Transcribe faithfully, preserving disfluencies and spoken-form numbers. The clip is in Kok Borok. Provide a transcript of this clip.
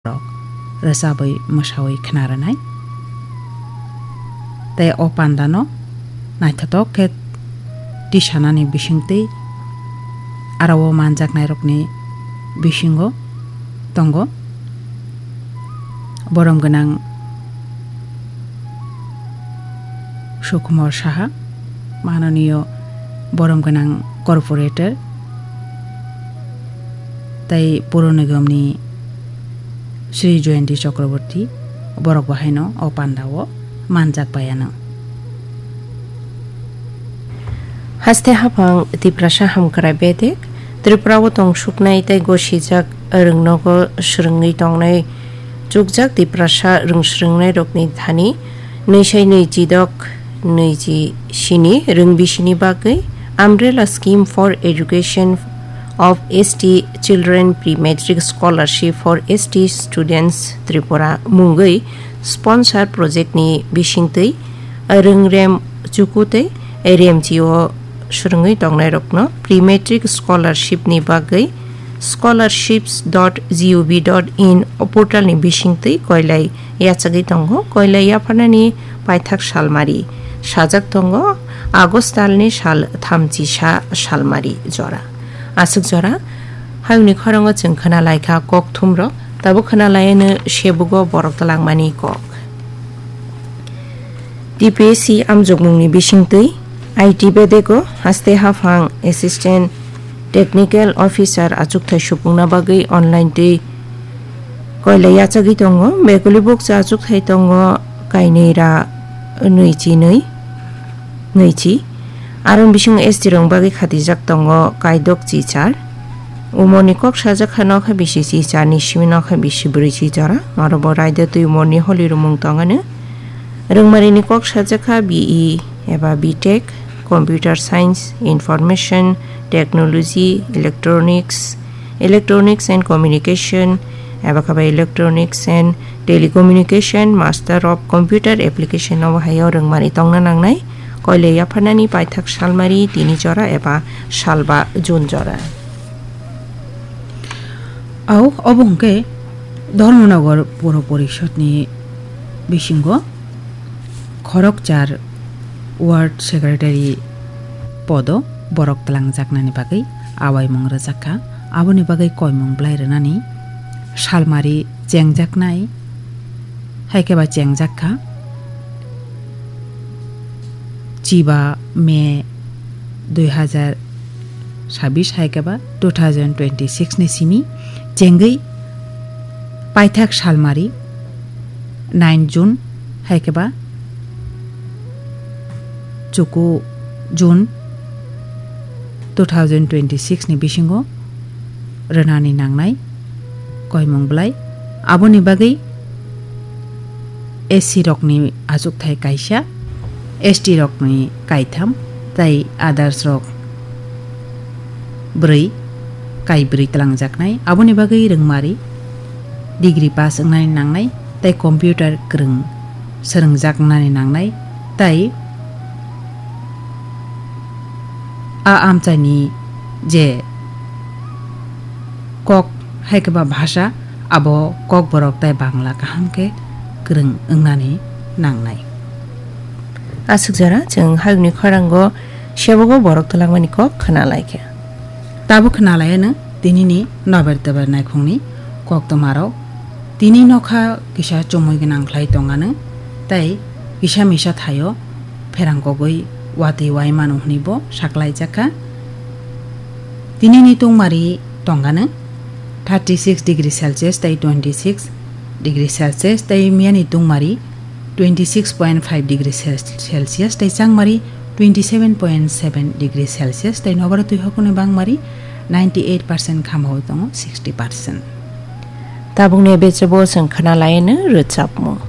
rok rwchabwi mwsawi khna rwnai. Tei o pandano naithothok khe tisanani bisingtwi aro o manjaknairokni bisingo tongo borom gwnang Sukumar Saha, manoniyo borom gwnang corporator, tei Puro Nigamni Sri Jayanti Chakraborty, borok bo haino o pandao manjak bai anw. Haste haphang Tiprasa hamkrai bedek, Tripura o tong suknai tei gosijak rwngnogo swrwngwi tongnai chukjak Tiprasa rwngswrwngnairokni thani nwi sai nwi chidok nwi ji sini rwng bisini bagwi Umbrella Scheme for Education of S T Children Pre-Matric Scholarship for S T Students Tripura mungwi sponsor project ni bisingtwi rwngrem chuku tei remchi o swrwngwi tongnairokno Pre-Matric Scholarship ni bagwi scholarships dot gov dot in o portal ni bisingtwi koilai yachagwi tongo. Koilai yapharnani paithak salmari sajak tongo, August talni sal thamchi sa salmari jora. Aswk jora hayungni khorango chwng khna laikha kokthumrok, tabuk khna laiano sebugo borok twlangmani kok. T P S C amjokmungni bisingtwi I T bedego haste haphang Assistant Technical Officer achukthai supungna bagwi online twi koilai yachagwi tongo. Bekuli bukcha achukthai tongo kainwi ra nwi chi nwi, nwi chi. Aroni bisingo S T rokni bagwi khatijak tongo kaidok chi char. Umorni kok sajak kha nokha bisi chi charni simi nokha bisi bwrwi chi jora. Oro bo raida twi umorni holi rumung tongano. Rwngmarini kok sajak kha B E eba B Tech, Computer Science, Information Technology, Electronics, Electronics and Communication, eba khe bai Electronics and Telecommunication, Master of Computer Application obo hai o rwngmari tongna nangnai. Koilai yapharnani paithak salmari tini jora eba salba June jora. Au, obo hwnkhe Dharmanagar Puro Porishodni bisingo khorokchar Ward Secretary podo borok twlangjaknani bagwi awaimung rwjak kha. Aboni bagwi koimung bwlai rwnani salmari chengjaknai, hai khe ba chengjak kha. Chiba May dui hazar sabis hai khe ba two thousand twenty-six ni simi chengwi paithak salmari nine June hai khe ba chuku June two thousand twenty-six ni bisingo rwnani nangnai koimung bwlai. Aboni bagwi S C rokni achukthai kaisa, S T rokni kaitham, tei others rok bwrwi, kaibrwi twlangjaknai. Aboni bagwi rwngmari degree pass wngnani nangnai, tei computer kwrwng swrwngjaknani nangnai, tei a amchaini je kok hai khe ba bhasha, abo Kokborok tei Bangla kaham khe kwrwng wngnani nangnai. Aswk jora chwng hayungni khorango sebogo borok twlangmani kok khna lai kha. Tabuk khna lai ano tinini nober teber naikhungni koktwmarok. Tini nokha kisa chumui gwnang khlai tongano, tei kisa misa thaio pherang kogwi watwi wai mano hwnwi bo saklaijak kha. Tinini tungmari tongano thirty six degree Celsius tei twenty six degree Celsius, tei miyani tungmari twenty six point five degree Celsius tei changmari twenty seven point seven degree Celsius, tei nobara twi hokoni bangmari ninety eight percent khamao tongo sixty percent. Tabukni bechebo chwng khna laino rwchapmung.